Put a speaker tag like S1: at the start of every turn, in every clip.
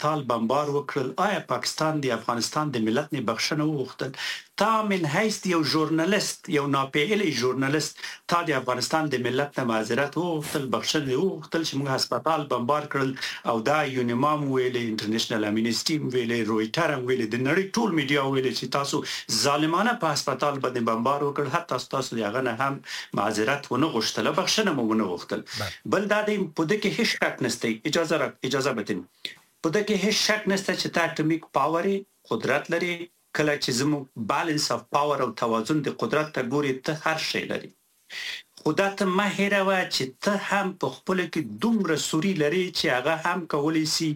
S1: هسپتال بمبار وکړل، آیا پاکستان د افغانستان د ملت نه بخښنه وغوښتل؟ تا من حیث یو ژورنالیست، یو ناپیلی ژورنالیست، تا د افغانستان د ملت نه معذرت وغوښتل، بخښنه دې وغوښتل چې موږ هسپتال بمبار کړل؟ او دا یونیما هم ویلې، انټرنیشنل امنیسټي هم ویلې، رویټر هم ویلې، د نړۍ ټول میډیا ویلې چې تاسو ظالمانه په هسپتال باندې بمبار وکړ، حتی تاسو د هغه نه هم معذرت ونه غوښتل، بخښنه مو ونه غوښتل. بل دا دی، په دې کې هیڅ شک نشته، اجازه را اجازه بدین، په دې کې هیڅ شک نشته چې ته atomic power قدرت لري. کله چې زموږ balance of power او توازن د قدرت ته ګوري، ته هر شی لري، خو دا ته مه هېروه چې ته هم په خپلو کې دومره سوري لرې چې هغه هم کولی سي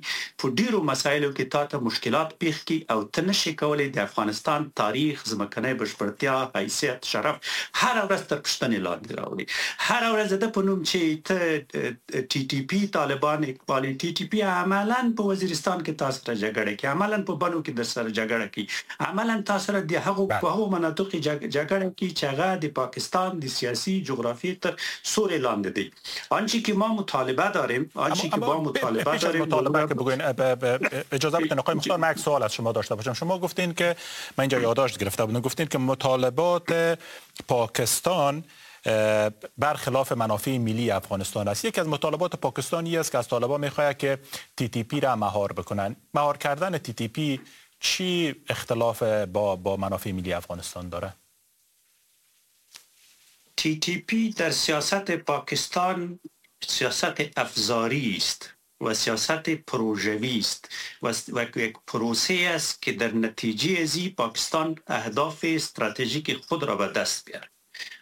S1: په ډیرو مسایلو کې تا ته مشکلات پیښ کړي، او ته نشې کولی د افغانستان تاریخ، ځمکنۍ بشپړتیا، حیثیت، شرف هره ورځ تر پوښتنې لاندې راوړي. هره ورځ د په نوم چې ته ټي ټي پي طالبان اقبالي، ټي ټي پي عملاً په وزیرستان کې تا سره جګړه کوي، عملاً په بنو کې در سره جګړه کوي، عملاً تا سره د هغو په هغو مناطقو کې جګړه کوي چې هغه د پاکستان د سیاسي جغرافیې تر سیوري لاندې دی. آنچه که ما مطالبه داریم، آنچه که ما مطالبه داریم،
S2: مطالبه که بگوین، اجازه بدین آقای مختار، من یک سوال از شما داشته باشم. شما گفتین که، من اینجا یادداشت گرفته بودم، گفتین که مطالبات پاکستان برخلاف منافع ملی افغانستان است. یکی از مطالبات پاکستان است که از طالبان میخواهد که تی تی پی را مهار بکنن. مهار کردن تی تی پی چی اختلاف با منافع ملی افغانستان داره؟
S1: تی تی پی در سیاست پاکستان سیاست افزاری است و سیاست پروژوی است و یک پروسه است که در نتیجه ازی پاکستان اهداف استراتژیک خود را به دست بیاره.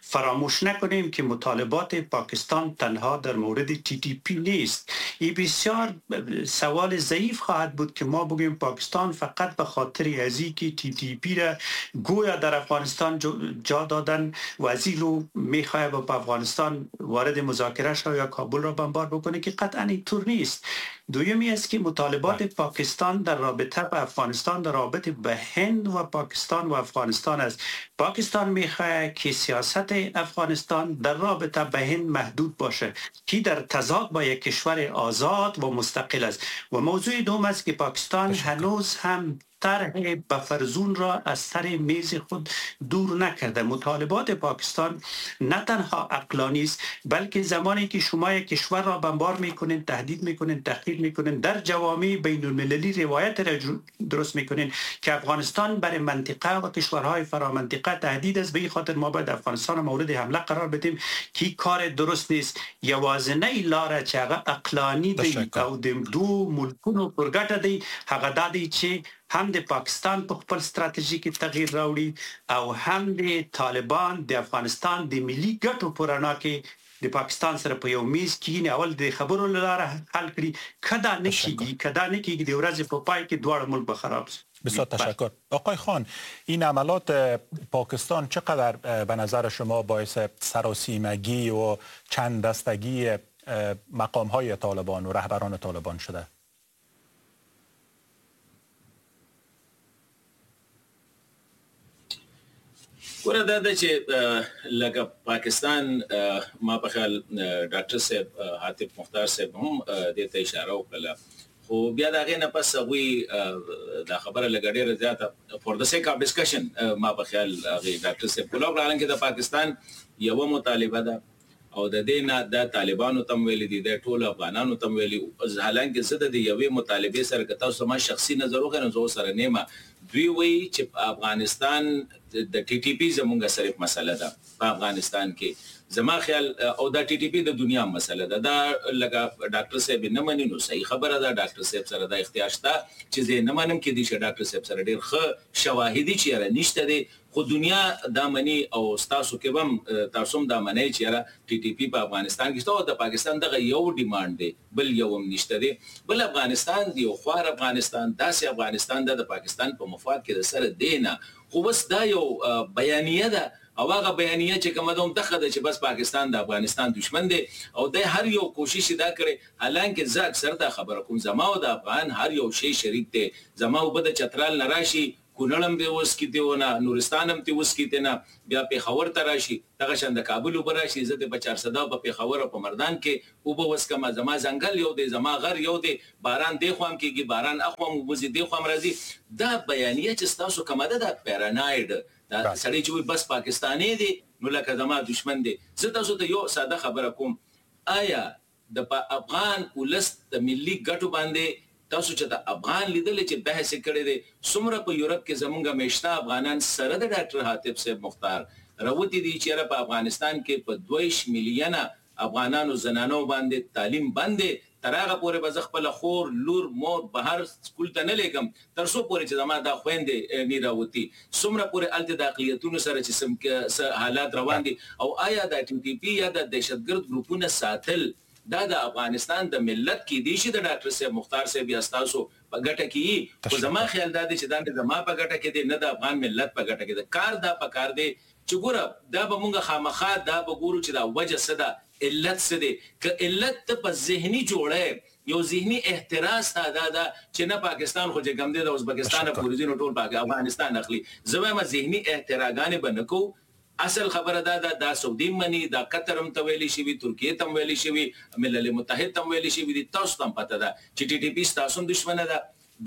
S1: فراموش نکنیم که مطالبات پاکستان تنها در مورد تی تی پی نیست. این بسیار سوال ضعیف خواهد بود که ما بگوییم پاکستان فقط به خاطر ازی که تی تی پی را گویا در افغانستان جا دادن و ازی رو میخواه با افغانستان وارد مذاکره شود یا کابل را بمبار بکنه، که قطعا اینطور نیست. دومی است که مطالبات پاکستان در رابطه به افغانستان در رابطه به هند و پاکستان و افغانستان است. پاکستان میخواه که سیاست افغانستان در رابطه به هند محدود باشه که در تضاد با یک کشور آزاد و مستقل است. و موضوع دوم است که پاکستان هنوز هم طرح buffer zone را از سر میز خود دور نکرده. مطالبات پاکستان نه تنها عقلانی است، بلکه زمانی که شما یک کشور را بمبار میکنین، تهدید میکنین، تحقیر میکنین، در جوامع بین المللی روایت را درست میکنین که افغانستان برای منطقه و کشورهای فرامنطقه تهدید است، به این خاطر ما باید افغانستان را مورد حمله قرار بدیم که کار درست نیست. یوازینۍ لاره چې هغه عقلانی دی او د دوو ملکونو پر ګټه دی، هغه دا دی چې هم د پاکستان په خپل ستراتیژي کې تغییر راوړي او هم د طالبان د افغانستان د ملي ګټو په رڼا کې د پاکستان سره په یو میز کښېني، اول د خبرو له لارې حل کړي. که دا نه کېږي، که دا نه کېږي، د ورځې په پای کې دواړه ملک به خراب شي.
S2: بسیار تشکر. آقای خان، این عملات پاکستان چقدر به نظر شما باعث سراسیمگی و چند دستگی مقام های طالبان و رهبران طالبان شده؟
S3: ګوره، دا ده چې لکه پاکستان، ما په خیال ډاکټر صاحب عاطف مختار صاحب هم دې ته اشاره وکړله، خو بیا د هغې نه پس هغوی دا خبره لږه ډېره زیاته for the sake of discussion ما په خیال هغې ډاکټر صاحب کوله وکړه. حالانکه د پاکستان یوه مطالبه ده او د دې نه د طالبانو ته هم ویلي دي، د ټولو افغانانو ته هم ویلي. حالانکه زه د دې یوې مطالبې سره که تاسو زما شخصي نظر وکړئ نو زه ورسره نه یم. دوی وایي چې افغانستان د ټي ټي پي زمونږ صرف مسله ده په افغانستان کې. زما خیال او دا ټي ټي پي د دنیا مسله ده، دا لکه ډاکټر صاحب نه مني نو صحیح خبره ده، ډاکټر صاحب سره دا اختیار شته چې زه یې نه منم، کېدای شي ډاکټر صاحب سره ډېر ښه شواهدي چې یاره نشته دی، خو دنیا دا مني او ستاسو کې به هم تاسو هم دا منئ چې یاره ټي ټي پي په افغانستان کې شته او د پاکستان دغه یو demand دی، بل یو هم نشته دی. بل افغانستان دی، یو خوار افغانستان، داسې افغانستان ده د پاکستان په مفاد کې د سره دی نه، خو بس دا یو بیانیه ده او هغه بیانیه چې کومه ده هم دغه ده چې بس پاکستان د افغانستان دشمن دی او دی هر یو کوشش دا کړی. حالانکه زه اکثر دا خبره کوم، زما او د افغان هر یو شی شریک دی، زما اوبه د چترال نه راشي، کونړ هم به وڅکي ته نه، نورستان هم ته وڅکي ته نه، بیا پېښور ته راشي، دغه شان د کابل اوبه راشي، زه د په چارسده په پېښور او په مردان کې اوبه وڅکم، زما ځنګل یو دی، زما غر یو دی، باران دې خوا هم کېږي، باران اخوا هم اوبه ځي، دې خوا هم راځي. دا بیانیه چې ستاسو کومه ده، دا پیراناید، دا سړی چې وایي بس پاکستانی دی نو لکه زما دښمن دی. زه تاسو ته یو ساده خبره کوم، آیا د افغان ولس د ملي ګټو باندې تاسو چې د افغان لیدل چې بحث یې کړی دی، څومره په یورپ کې زمونږ مېشته افغانان سره د ډاکټر حاطب صاحب مختار راوتي دي چې یاره په افغانستان کې په 22 میلیونه افغانانو زنانو باندې تعلیم بند دی، تر هغه پورې به زه خپله خور، لور، مور بهر سکول ته نه لېږم تر څو پورې چې زما دا خویندې نه راوتي. څومره پورې هلته د اقلیتونو سره چې څه حالات روان دي، او آیا د ټي ټي پي یا د دهشتګرد ګروپونه ساتل دا د افغانستان د ملت کې دی چې د ډاکټر صاحب مختار صاحب یا ستاسو په ګټه کې یي؟ خو زما خیال دا دی چې دا نه زما په ګټه کې دی، نه د افغان ملت په ګټه کې دی. کار دا په کار دی چې ګوره دا به مونږ خامخا دا به ګورو چې دا وجه څه ده، علت څه دی. که علت ته په ذهني جوړه یو ذهني احتراز تا دا ده چې نه پاکستان خو چې کوم دی د ازبکستان پورې ځي نو ټول افغانستان اخلي، زه وایم ذهني احتراګانې به نه کوو. اصل خبره دا ده، دا سعودي مني، دا قطر هم ته ویلی شوي، ترکیې ته هم ویلی شوي، ملل متحد ته هم ویلی شوي دي. تاسو ته هم پته ده چې ټي ټي پي ستاسو هم دښمنه ده،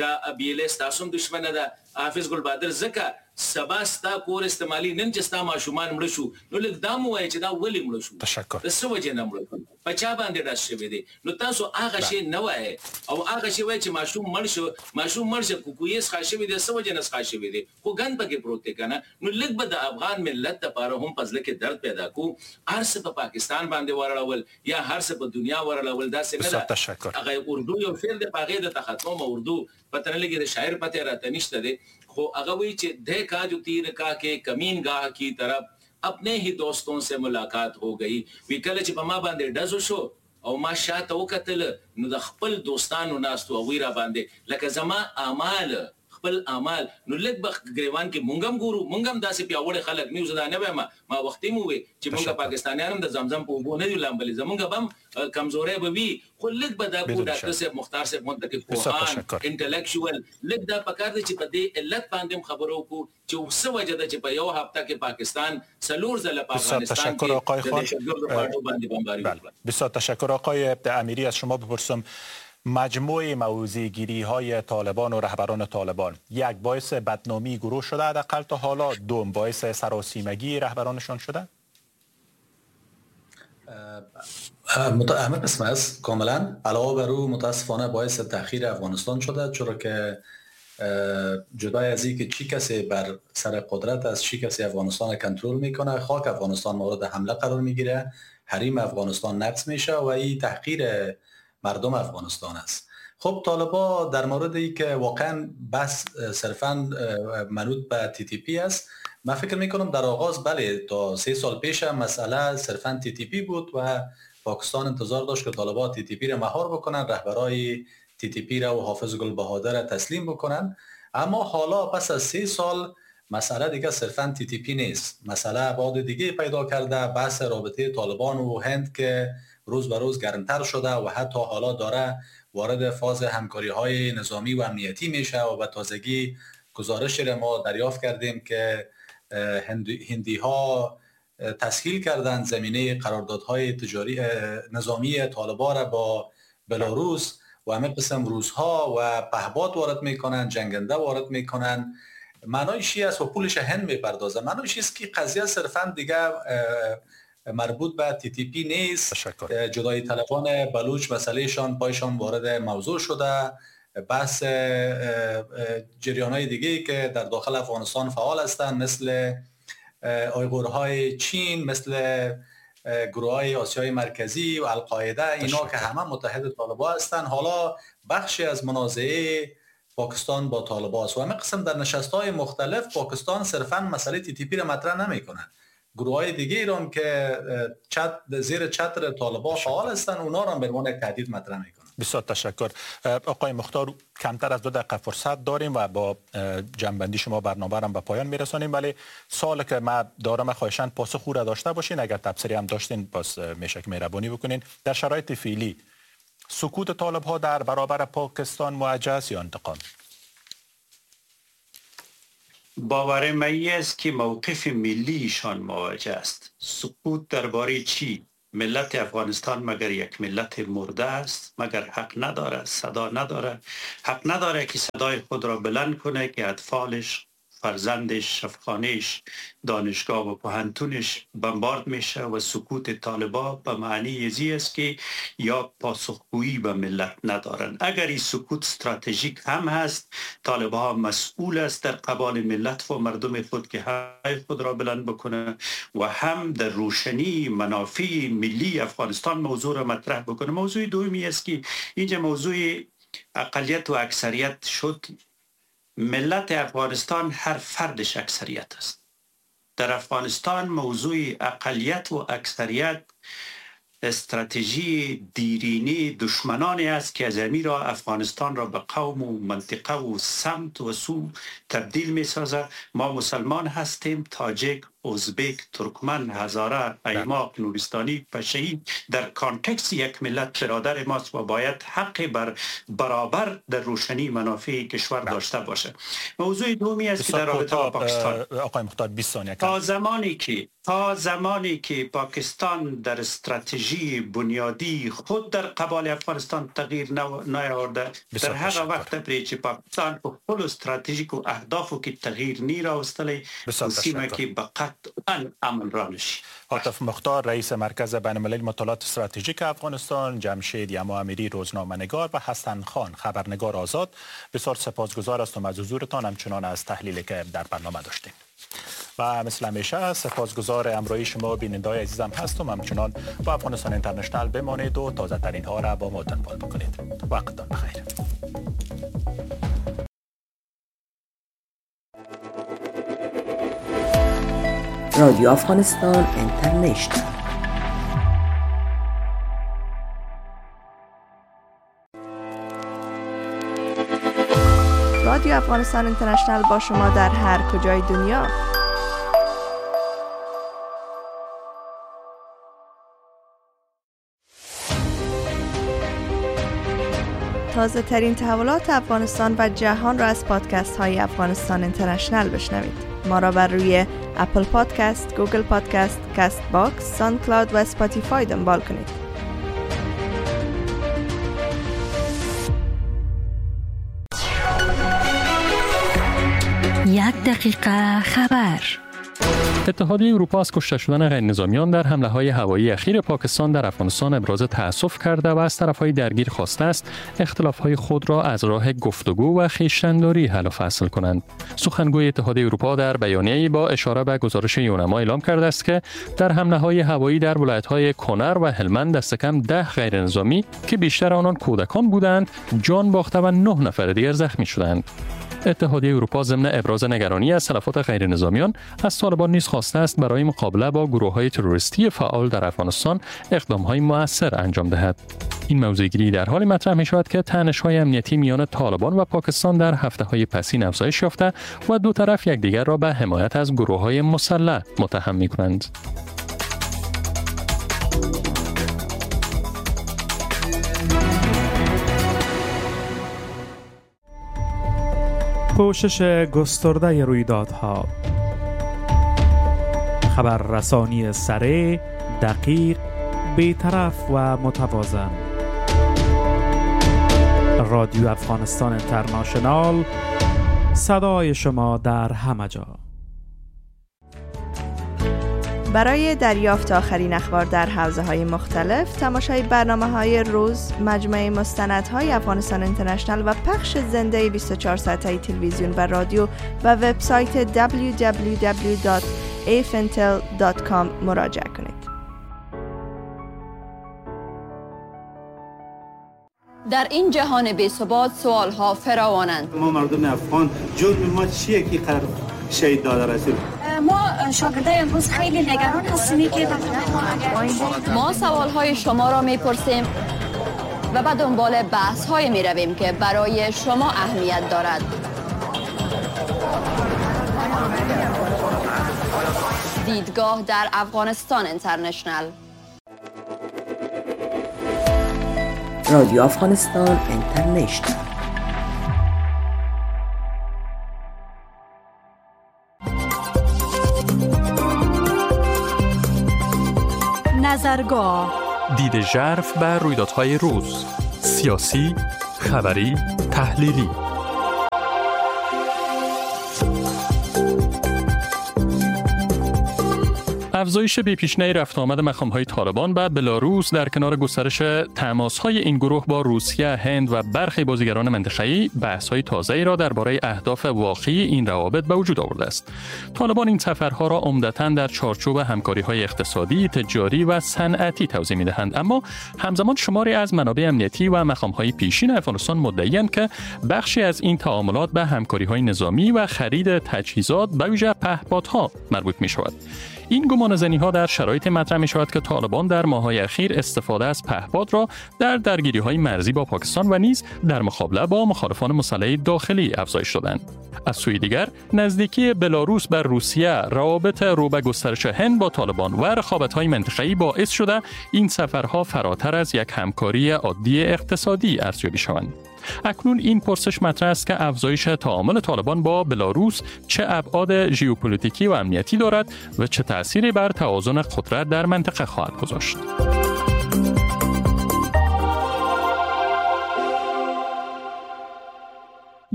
S3: دا بي ایل ای ستاسو هم دښمنه ده. حافظ ګل بادر ځکه سبا ستا کور استعمالي، نن چې ستا ماشومان مړه شو نو لږ دا مو وایه چې دا ولې مړه شو، د څه وجې نه مړه شو، په چا باندې ډز شوی دی. نو تاسو هغه شی نه وایئ او هغه شی وایئ چې ماشوم مړ شو، ماشوم مړ شو، کوکویې څښا شوی دی، څه وجې نه څښا شوی دی، خو ګند پکې پروت دی که نه. نو لږ به د افغان ملت دپاره هم په زړه کې درد پیدا کړو. هر څه په پاکستان باندې ورړول یا هر څه په دنیا ورړول داسې نه ده. هغه اردو یو شعر دی، په هغې درته ختموم. اردو پته نه لګي، د شاعر پته راته نشته دی، خو هغه وایي چې ده کا جو تیر کا کې کمین گاه کی طرف اپنے ہی دوستوں سے ملاقات ہو گئی. وی کله چې په ما باندې ډز وشو او ما شاته وکتل نو د خپل دوستانو ناست وو، هغوی را باندې لکه زما اعمال، خپل اعمال. نو لږ به ګریوان کې مونږ هم ګورو، مونږ هم داسې پیاوړي خلک نه یو. زه دا نه وایم، ما وختي مو وی چې مونږ پاکستانیان هم د زمزم په اوبو نه یو لامبلي، زمونږ به هم کمزوری به وي، خو لږ به دا کو ډاکټر صاحب مختار صاحب مونږ ته پوهان انټلیکچوال لږ دا پکار دی چې په دې علت باندې هم خبرو وکړو چې څه وجه ده چې په یو هفته کې پاکستان څلور ځله په افغانستان کې د دهشتګردو په اډو باندې بمباري وکړه.
S2: بسیار تشکر. آقای امیری، از شما بپرسم مجموع موضع گیری های طالبان و رهبران طالبان یک باعث بدنامی گروه شده حداقل تا حالا، دوم باعث سراسیمگی رهبرانشان شده؟
S4: همه قسم است کاملا. علاوه بر او متاسفانه باعث تأخیر افغانستان شده، چرا که جدای از اینکه چی کسی بر سر قدرت است، چی کسی افغانستان کنترل میکنه، خاک افغانستان مورد حمله قرار میگیره، حریم افغانستان نقض میشه و این تحقیر مردم افغانستان است. خب طالبا در مورد ای که واقعا بس صرفا منوط به تی تی پی است، من فکر میکنم در آغاز بله تا 3 سال پیش مسئله صرفا تی تی پی بود و پاکستان انتظار داشت که طالبا تی تی پی را مهار بکنن، رهبرای تی تی پی را و حافظ گل بهادر را تسلیم بکنن. اما حالا پس از 3 سال مسئله دیگه صرفا تی تی پی نیست، مسئله ابعاد دیگه پیدا کرده. بحث رابطه طالبان و هند که روز به روز گرمتر شده و حتی حالا داره وارد فاز همکاری های نظامی و امنیتی میشه و به تازگی گزارش را ما دریافت کردیم که هندی ها تسهیل کردند زمینه قراردادهای تجاری نظامی طالبان را با بلاروس و همه قسم روس‌ها و پهپاد وارد میکنن، جنگنده وارد میکنن. معنایش است و پولش هند میپردازه. معنایش است که قضیه صرفا دیگه مربوط به تی تی پی نیست. جدای طلبان بلوچ مسئلهشان پایشان وارد موضوع شده. بحث جریان‌های دیگه که در داخل افغانستان فعال هستند مثل آیغورهای چین، مثل گروه‌های آسیای مرکزی و القاعده، اینا که همه متحد طالبان هستند، حالا بخشی از منازعه پاکستان با طالبان است و همه قسم در نشست‌های مختلف پاکستان صرفاً مسئله تی تی پی را مطرح نمی‌کنه. گروه‌های دیگه ایران که زیر چتر طالبان فعال هستند، اونا را به عنوان یک تهدید مطرح می‌کنن.
S2: بسیار تشکر. آقای مختار، کمتر از 2 دقیقه فرصت داریم و با جنبندی شما برنامه را به پایان میرسانیم، ولی سوالی که من دارم خواهشاً پاسخ را داشته باشین، اگر تبصره هم داشتین باز میشه که مهربانی بکنین. در شرایط فعلی سکوت طالب ها در برابر پاکستان موجه است یا انتقام؟
S1: باور من است که موقف ملیشان مواجه است. سکوت درباره چی؟ ملت افغانستان مگر یک ملت مرده است؟ مگر حق نداره، صدا نداره؟ حق نداره که صدای خود را بلند کنه که اطفالش، فرزندش، شفخانهش، دانشگاه و پوهنتونش بمبارد میشه؟ و سکوت طالبا به معنی ازی است که یا پاسخگویی به ملت ندارن. اگر این سکوت استراتژیک هم هست، طالبا مسئول است در قبال ملت و مردم خود که های خود را بلند بکنه و هم در روشنی منافع ملی افغانستان موضوع را مطرح بکنه. موضوع دومی است که اینجا موضوع اقلیت و اکثریت شد. ملت افغانستان هر فردش اکثریت است. در افغانستان موضوع اقلیت و اکثریت استراتژی دیرینی دشمنانی است که از را افغانستان را به قوم و منطقه و سمت و سو تبدیل می سازد. ما مسلمان هستیم، تاجک، ازبک، ترکمن، هزاره، ایماق، نورستانی، پشه‌ای در context یک ملت برادر ماست و باید حق بر برابر در روشنی منافع کشور داشته باشه. موضوع دومی است که در رابطه با پاکستان،
S2: آقای مختار 20 ثانیه،
S1: تا زمانی که پاکستان در استراتژی بنیادی خود در قبال افغانستان تغییر نیاورده، در هغه وخت پرې چې پاکستان په خپل استراتژیکو اهدافو کې تغییر نه راوستلی، سیمه کې به قطعاً امن را نشي.
S2: عاطف مختار، رئیس مرکز بین‌المللی مطالعات استراتژیک افغانستان، جمشید یما امیری روزنامه‌نگار و حسن خان خبرنگار آزاد، بسیار سپاسگزار هستم از حضورتان، همچنان از تحلیلی که در برنامه داشتین. و مثل همیشه سپاسگزار همراهی شما بیننده‌های عزیزم هستم. همچنان با افغانستان اینترنشنال بمانید و تازه ترین ها را با ما دنبال بکنید. وقتتان بخیر.
S5: رادیو افغانستان اینترنشنال.
S6: رادیو افغانستان اینترنشنال با شما در هر کجای دنیا. تازه ترین تحولات افغانستان و جهان را از پادکست های افغانستان اینترنشنال بشنوید. ما را بر روی Apple Podcast، Google Podcast، Castbox، SoundCloud و Spotify دنبال کنید.
S7: یک دقیقه خبر.
S8: اتحادیه اروپا از کشته شدن غیر نظامیان در حمله‌های هوایی اخیر پاکستان در افغانستان ابراز تأسف کرده و از طرف‌های درگیر خواسته است اختلاف‌های خود را از راه گفتگو و خویشتن‌داری حل و فصل کنند. سخنگوی اتحادیه اروپا در بیانیه‌ای با اشاره به گزارش یونما اعلام کرده است که در حمله‌های هوایی در ولایت‌های کنر و هلمند دست کم 10 غیر نظامی که بیشتر آنان کودکان بودند جان باخته و 9 نفر دیگر زخمی شدند. اتحادیه اروپا ضمن ابراز نگرانی از تلفات غیر نظامیان از طالبان نیز خواسته است برای مقابله با گروه‌های تروریستی فعال در افغانستان اقدام‌های مؤثر انجام دهد. این موضع‌گیری در حالی مطرح می‌شود که تنش‌های امنیتی میان طالبان و پاکستان در هفته‌های پسین افزایش یافته و دو طرف یکدیگر را به حمایت از گروه‌های مسلح متهم می‌کنند.
S9: پوشش گسترده رویدادها، خبررسانی سریع، دقیق، بی‌طرف و متوازن. رادیو افغانستان اینترنشنال، صدای شما در همه جا.
S6: برای دریافت آخرین اخبار در حوزه‌های مختلف، تماشای برنامه‌های روز، مجموعه مستندهای افغانستان اینترنشنال و پخش زنده 24 ساعته تلویزیون و رادیو و وبسایت www.afintel.com مراجعه کنید.
S10: در این جهان بی‌ثبات سوال‌ها فراوانند.
S11: ما مردم افغان جرم ما چیه که قرار شهید داده رسید؟
S12: ما شاگردای امروز خیلی نگران هستیم که
S10: ما سوال‌های شما را می‌پرسیم و به دنبال بحث‌های می‌رویم که برای شما اهمیت دارد. دیدگاه در افغانستان اینترنشنال.
S5: رادیو افغانستان اینترنشنال.
S7: نظرگاه،
S8: دید ژرف بر رویدادهای روز، سیاسی، خبری، تحلیلی. افزایش بی‌پیشینه رفت آمد مقام‌های طالبان به بلاروس در کنار گسترش تماس‌های این گروه با روسیه، هند و برخی بازیگران منطقه‌ای بحث‌های تازه‌ای را درباره اهداف واقعی این روابط به وجود آورده است. طالبان این سفرها را عمدتاً در چارچوب همکاری‌های اقتصادی، تجاری و صنعتی توضیح می‌دهند، اما همزمان شماری از منابع امنیتی و مقام‌های پیشین افغانستان مدعی‌اند که بخشی از این تعاملات به همکاری‌های نظامی و خرید تجهیزات به ویژه پهپادها مربوط می‌شود. این گمانه‌زنی‌ها در شرایط مطرح می‌شود که طالبان در ماه‌های اخیر استفاده از پهپاد را در درگیری‌های مرزی با پاکستان و نیز در مقابله با مخالفان مسلح داخلی افزایش دادند. از سوی دیگر، نزدیکی بلاروس بر روسیه، روابط رو به گسترش هند با طالبان و رقابت‌های منطقه‌ای باعث شده این سفرها فراتر از یک همکاری عادی اقتصادی ارزیابی شوند. اکنون این پرسش مطرح است که افزایش تعامل طالبان با بلاروس چه ابعاد ژئوپلیتیکی و امنیتی دارد و چه تأثیری بر توازن قدرت در منطقه خواهد گذاشت.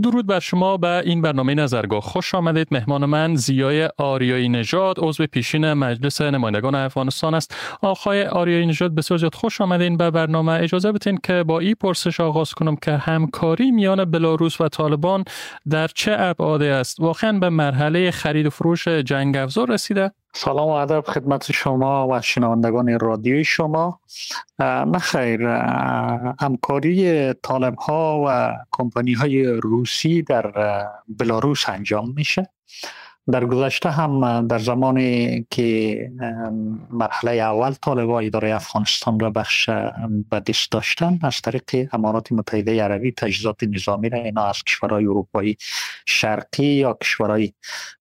S8: درود بر شما، به این برنامه نظرگاه خوش آمدید. مهمان من ضیای آریایی نژاد، عضو پیشین مجلس نمایندگان افغانستان است. آقای آریایی نژاد، بسیار زیاد خوش آمدین به برنامه. اجازه بدین که با این پرسش آغاز کنم که همکاری میان بلاروس و طالبان در چه ابعادی است؟ واقعا به مرحله خرید و فروش جنگ افزار رسیده؟
S13: سلام و ادب خدمت شما و شنوندگان رادیوی شما. نخیر، همکاری طالب ها و کمپانی های روسی در بلاروس انجام میشه. در گذشته هم در زمانی که مرحله اول طالب ها اداره افغانستان را بخش به دست داشتن، از طریق امارات متحده عربی تجهیزات نظامی را اینا از کشورهای اروپایی شرقی یا کشورهای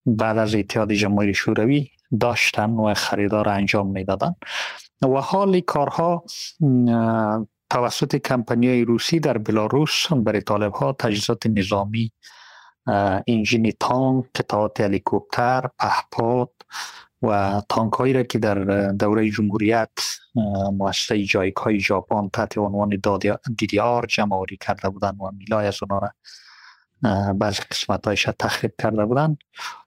S13: بعد از اتحاد جماهیر شوروی داشتن و خریدار انجام میدادن و حال کارها توسط کمپانی روسی در بلاروس برای طالب ها تجهیزات نظامی، انجین تانک، قطعات هلیکوپتر، پهپاد و تانک هایی را که در دوره جمهوریت مؤسسه جایک های ژاپن تحت عنوان DDR جمع آوری کرده بودند و میلای از آنها را بعضی قسمت هایش تخریب کرده بودند،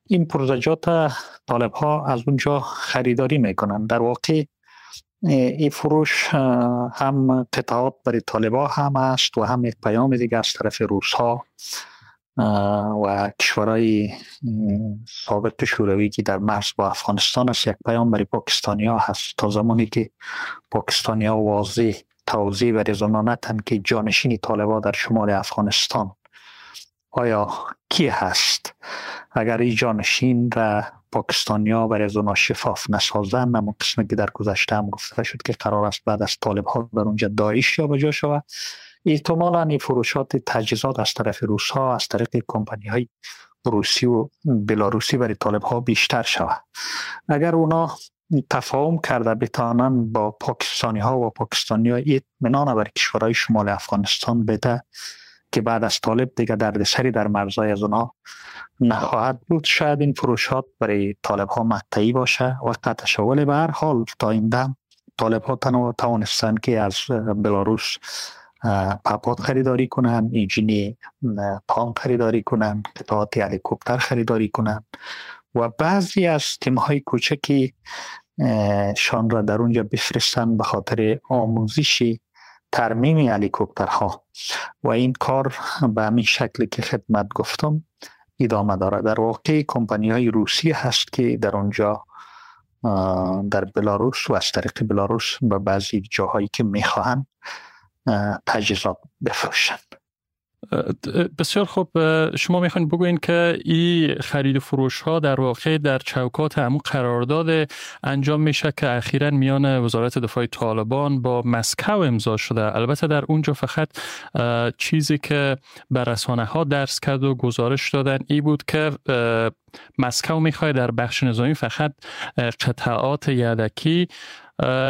S13: این پروژه‌جات طالب ها از اونجا خریداری میکنن. در واقع این فروش هم قطعات برای طالب ها هم است و هم یک پیام دیگه از طرف روس ها و کشورهای سابق شوروی که در مرز با افغانستان است، یک پیام برای پاکستانی ها هست. تا زمانی که پاکستانی ها واضح توضیح برای زنان نتن که جانشین طالب ها در شمال افغانستان آیا کی هست، اگر این جانشین را پاکستانیا برای از اونا شفاف نسازن، اما قسمی که در گذشته هم گفته شد که قرار است بعد از طالب ها در اونجا داعش یا بجا شود، احتمالاً این فروشات تجهیزات از طرف روس ها از طریق کمپانی های روسی و بلاروسی برای طالب ها بیشتر شود. اگر اونا تفاهم کرده بتانن با پاکستانی ها و پاکستانی ها اطمینان بر کشورهای شمال افغانستان بده که بعد از طالب دیگه دردسری در مرزهای از اونا نخواهد بود، شاید این فروشات برای طالب ها مقطعی باشه و قطع شوال. به هر حال تا این دم طالب ها توانستن که از بلاروس پهپاد خریداری کنن، انجین تانک خریداری کنن، قطعات هلیکوپتر خریداری کنن و بعضی از تیم های کوچکی شان را در اونجا بفرستن به خاطر آموزش ترمیم هلیکوپترها و این کار به همین شکلی که خدمت گفتم ادامه داره. در واقع کمپانی های روسی هست که در اونجا در بلاروس و از طریق بلاروس به بعضی جاهایی که میخواهند تجهیزات بفروشند.
S8: بسیار خوب، شما میخواین بگوین که این خرید و فروش ها در واقع در چوکات همون قرارداد انجام میشه که اخیراً میان وزارت دفاع طالبان با مسکو امضا شده. البته در اونجا فقط چیزی که بر رسانه ها درس کرد و گزارش دادن ای بود که مسکو میخواد در بخش نظامی فقط قطعات یدکی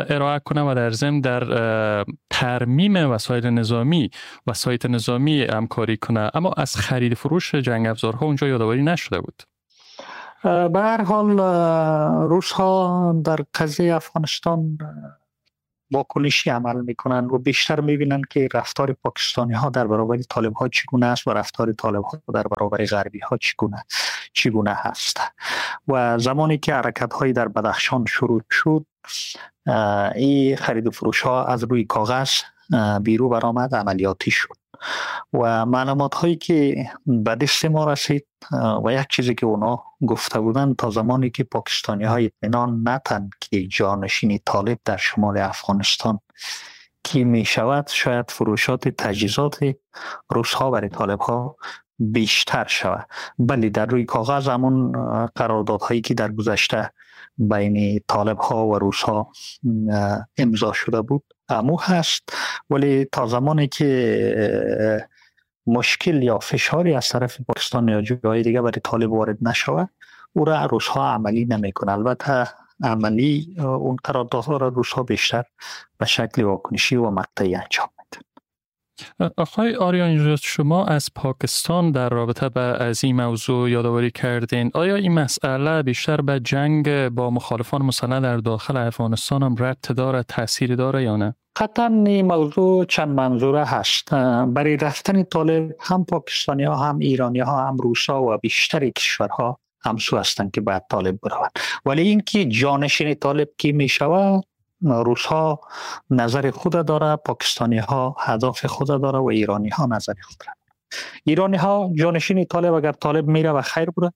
S8: ارائه کنه و در ضمن در ترمیم وسایل نظامی و سایت نظامی همکاری کنه، اما از خرید فروش جنگ افزارها اونجا یادآوری نشده بود.
S13: به هر حال روس ها در قضیه افغانستان واکنشی عمل میکنن و بیشتر میبینن که رفتار پاکستانی ها در برابر طالب ها چگونه است و رفتار طالب ها در برابر غربی ها چگونه هست. و زمانی که حرکت های در بدخشان شروع شد، این خرید و فروش ها از روی کاغذ بیرو برآمد، عملیاتی شد و معلومات هایی که به دست ما رسید و یک چیزی که اونا گفته بودن، تا زمانی که پاکستانی های اطمینان نتن که جانشین طالب در شمال افغانستان کی می شود، شاید فروشات تجهیزات روس ها برای طالب ها بیشتر شود. ولی در روی کاغذ همون قراردادهایی که در گذشته بین طالب ها و روس ها امضا شده بود امو هست، ولی تا زمانی که مشکل یا فشاری از طرف پاکستان یا جای دیگه برای طالب وارد نشود، او را روس ها عملی نمیکنه. البته عملی اون قراردادها را روس ها بیشتر به شکل واکنشی و مقطعی انجام میدن.
S8: آقای آریان، شما از پاکستان در رابطه با از این موضوع یادآوری کردین. آیا این مسئله بیشتر به جنگ با مخالفان مسلح در داخل افغانستان هم ربط داره، تاثیر داره یا نه؟
S13: قطعا این موضوع چند منظوره هست. برای رفتن طالب هم پاکستانی ها، هم ایرانی ها، هم روس ها و بیشتر کشورها همسو هستند که باید طالب بروند. ولی اینکه جانشین طالب کی می شود، روس ها نظر خود داره، پاکستانی ها هدف خود داره و ایرانی ها نظر خود داره. ایرانی ها جانشین طالب اگر طالب میره و خیر بره،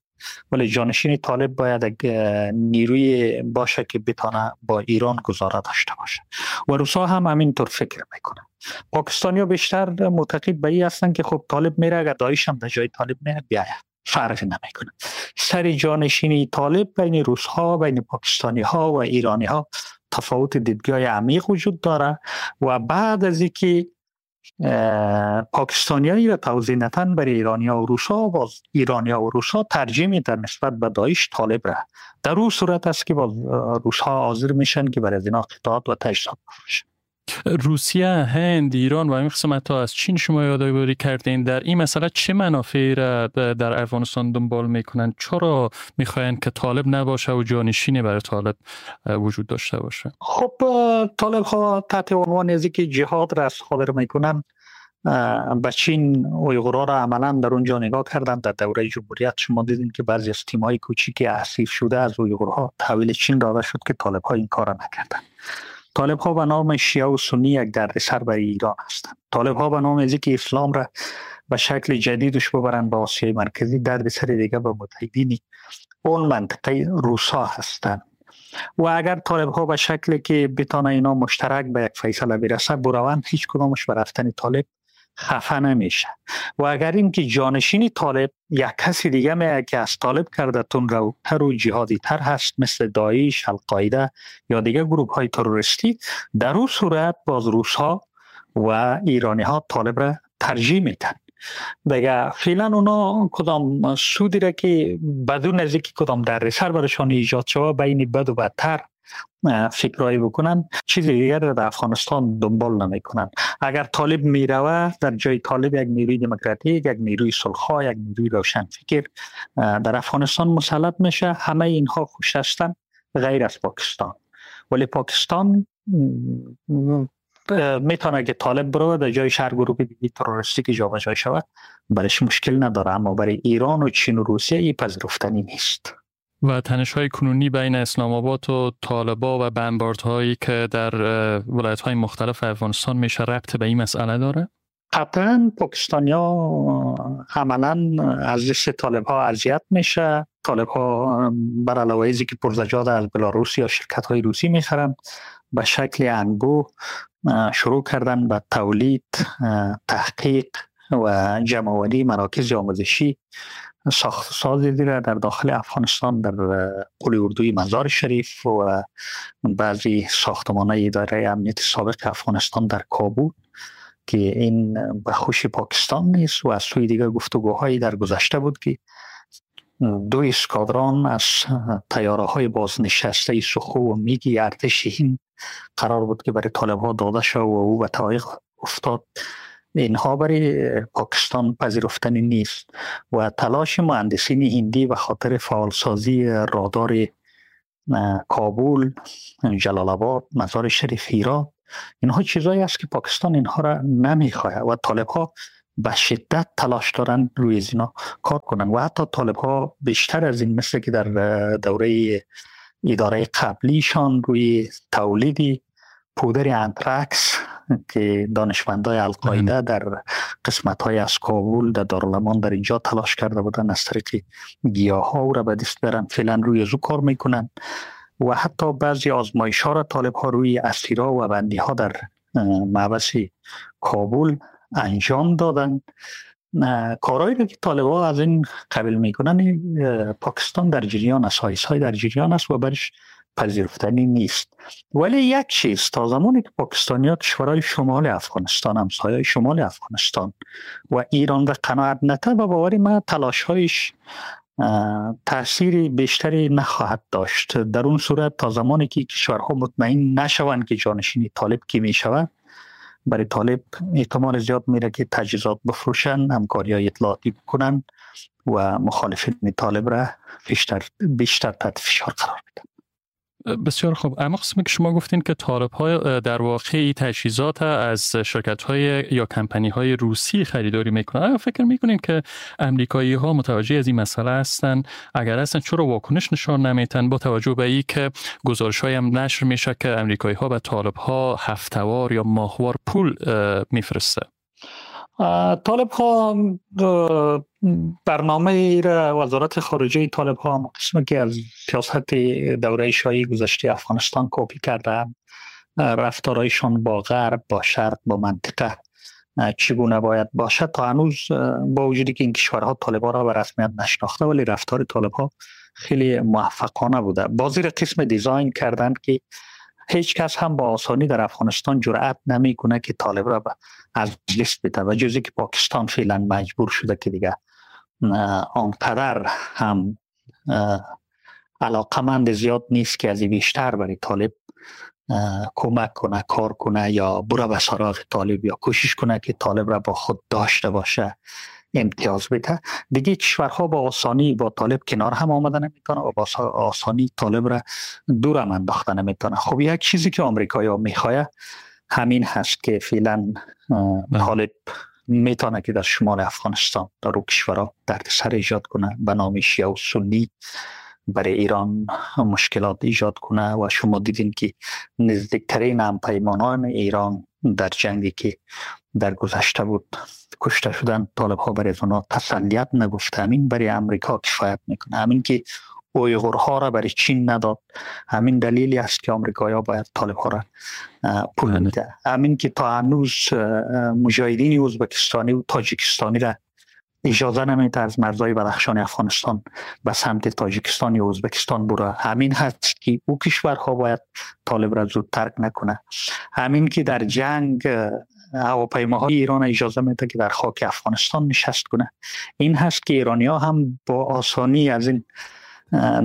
S13: ولی جانشین طالب باید نیروی باشه که بتانه با ایران گزاره داشته باشه و روس ها هم همینطور فکر میکنن. پاکستانی ها بیشتر معتقد به این هستن که خب طالب میره، اگر داعش هم در جای طالب میره بیاید فرق نمیکنه. سر جانشینی طالب بین روس ها، بین پاکستانی ها و ایرانی ها تفاوت دیدگاه عمیق وجود داره و بعد از اینکه پاکستانیایی را توضیح نتن برای ایرانیا و روسا، باز ایرانیا و روسا ترجیح میدن نسبت به داعش طالب را. در اون صورت است که باز روس‌ها حاضر میشن که برای از اینا قطعات و تجهیزات بفروشن.
S8: روسیه، هند، ایران و این قسمت ها از چین شما یادآوری کردین، در این مسئله چه منافعی را در افغانستان دنبال میکنن؟ چرا میخواین که طالب نباشه و جانشینی برای طالب وجود داشته باشه؟
S13: خب طالب ها تحت عنوان از اینکه جهاد را صادر میکنن به چین اویغورها را عملا در اونجا نگاه کردن. در دوره جمهوریت شما دیدین که بعضی از تیم‌های کوچیک اسیر شده از اویغورها تحویل چین داده شد که طالب ها این کار نکردن. طالب ها به نام شیعه و سنی یک دردسر برای ایران هستند. طالب ها به نام از اینکه اسلام را به شکل جدیدش ببرن به آسیای مرکزی دردسر دیگه به متحدین اون منطقه روسا هستند. و اگر طالب ها به شکلی که بتانه اینا مشترک به یک فیصله برسه بروند، هیچ کدامش به رفتن طالب خفه نمیشه. و اگر اینکه جانشین طالب یک کسی دیگه میاد که از طالب کرده تندروتر و جهادی تر هست، مثل داعش، القاعده یا دیگه گروه های تروریستی، در اون صورت باز روس ها و ایرانی ها طالب را ترجیح میدن. دیگه فعلا اونا کدام سودی را که بدون از اینکه کدام دردسر برشان ایجاد شود بین بد و بدتر فکرایی بکنن، چیز دیگر را در افغانستان دنبال نمیکنن. اگر طالب میروه، در جای طالب یک نیروی دموکراتیک، یک نیروی صلح‌خواه، یک نیروی روشنفکر در افغانستان مسلط میشه. همه اینها خوش هستن غیر از پاکستان. ولی پاکستان میتونه که طالب بروه در جای شهر گروه دیگه تروریستی که جابجا شود برش مشکل نداره، اما برای ایران و چین و روسیه این پذیرفتنی نیست.
S8: و تنش‌های کنونی بین اسلام آباد و طالبا و بمباردهایی که در ولایت‌های مختلف افغانستان میشه ربط به این مسئله داره؟
S13: قطعاً پاکستانی‌ها عملاً از دست طالب‌ها اذیت میشه. طالب‌ها بر علاوه از اینکه پرزجات از بلاروس یا شرکت‌های روسی میخرن، به شکل انبوه شروع کردن به تولید، تحقیق و جمع‌آوری مراکز آموزشی، ساخت سازی را در داخل افغانستان در قول اردوی مزار شریف و بعضی ساختمان‌های اداره امنیت سابق افغانستان در کابل که این به خوش پاکستان نیست. و از سوی دیگر گفتگوهایی در گذشته بود که 2 اسکادران از طیاره‌های بازنشسته سخو و میگی ارتش هند قرار بود که برای طالب‌ها داده شد و او به تعویق افتاد. اینها برای پاکستان پذیرفتنی نیست و تلاش مهندسین هندی به خاطر فعالسازی رادار کابل، جلال آباد، مزار شریف، هرات اینها چیزایی است که پاکستان اینها را نمیخواه و طالب ها به شدت تلاش دارن روی از اینا کار کنن و حتی طالب ها بیشتر از این، مثل که در دوره اداره قبلیشان روی تولید پودر انترکس که دانشمندای القاعده در قسمت های از کابل در دارالامان در اینجا تلاش کرده بودن از طریق گیاه ها را به دست برن، فعلا روی از او کار میکنن و حتی بعضی آزمایش ها را طالب ها روی اسیرا و بندی ها در محبس کابل انجام دادن. کارهایی را که طالب ها از این قبیل میکنن پاکستان در جریان است، های در جریان است و برش پذیرفتنی نیست. ولی یک چیز، تا زمانی که پاکستانی ها کشورهای شمال افغانستان، همسایه‌های شمال افغانستان و ایران را قناعت نته، و باور من تلاش‌هایش تاثیر بیشتری نخواهد داشت. در اون صورت تا زمانی که کشورها مطمئن نشوند که جانشین طالب کی میشود، برای طالب احتمال زیاد میره که تجهیزات بفروشن، همکاری اطلاعاتی بکنن و مخالفین طالب را بیشتر تحت فشار قرار بدن.
S8: بسیار خوب. اما قسمی که شما گفتین که طالب های در واقع تجهیزات از شرکت های یا کمپانی های روسی خریداری میکنن، آیا فکر میکنین که امریکایی ها متوجه از این مسئله هستن؟ اگر هستن چرا واکنش نشان نمیتن، با توجه به این که گزارش های هم نشر میشه که امریکایی ها به طالب ها هفته‌وار یا ماهوار پول میفرسته؟
S13: طالب ها برنامه را وزارت خارجه طالب ها هم قسمی که از سیاست دوره شاهی گذشته افغانستان کپی کرده، رفتارایشان با غرب، با شرق، با منطقه چگونه باید باشد، تا هنوز با وجودی که این کشورها طالب ها را به رسمیت نشناخته، ولی رفتار طالب ها خیلی موفقانه بوده. بازی را قسم دیزاین کردند که هیچ کس هم با آسانی در افغانستان جرأت نمیکنه که طالب را از لیست بده، و جزی که پاکستان فعلا مجبور شده که دیگه آنقدر هم علاقمند زیاد نیست که از بیشتر برای طالب کمک کنه، کار کنه یا بره به سراغ طالب یا کوشش کنه که طالب را با خود داشته باشه، امتیاز بده. دیگه کشورها با آسانی با طالب کنار هم آمدن نمیتونه و با آسانی طالب را دور هم انداختن نمیتونه. خب یک چیزی که آمریکایی‌ها میخواه همین هست که فعلا طالب میتونه که در شمال افغانستان در او کشورها دردسر ایجاد کنه، به نام شیعه و سنی برای ایران مشکلات ایجاد کنه و شما دیدین که نزدیکترین همپیمانان ایران در جنگی که در گذشته بود کشته شدن، طالب ها برای اونا تسلیت نگفته. همین برای امریکا کفایت میکنه، همین که اویغورها را برای چین نداد، همین دلیلی است که آمریکایی‌ها باید طالب ها را پول بده، همین که تا هنوز مجاهدین ازبکستانی و تاجیکستانی را اجازه نمیده از مرزهای بدخشان افغانستان به سمت تاجیکستان یا ازبکستان بره، همین هست که او کشورها باید طالب را زود ترک نکنه، همین که در جنگ هواپیماهای ایران اجازه میده که در خاک افغانستان نشست کنه، این هست که ایرانی‌ها هم با آسانی از این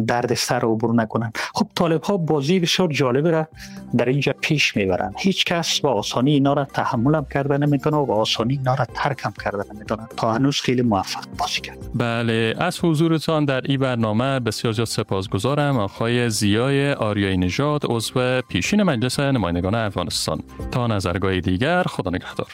S13: دردسر عبور نکنن. خب طالب ها بازی بسیار جالب را در اینجا پیش میبرن، هیچ کس با آسانی اینا را تحمل هم کرده نمیتونه و با آسانی اینا را ترک هم کرده نمیتونه. تا هنوز خیلی موفق بازی کرد.
S8: بله، از حضورتان در این برنامه بسیار زیاد سپاسگزارم آقای ضیای آریایی نژاد، عضو پیشین مجلس نمایندگان افغانستان. تا نظرگاه دیگر، خدا نگهدار.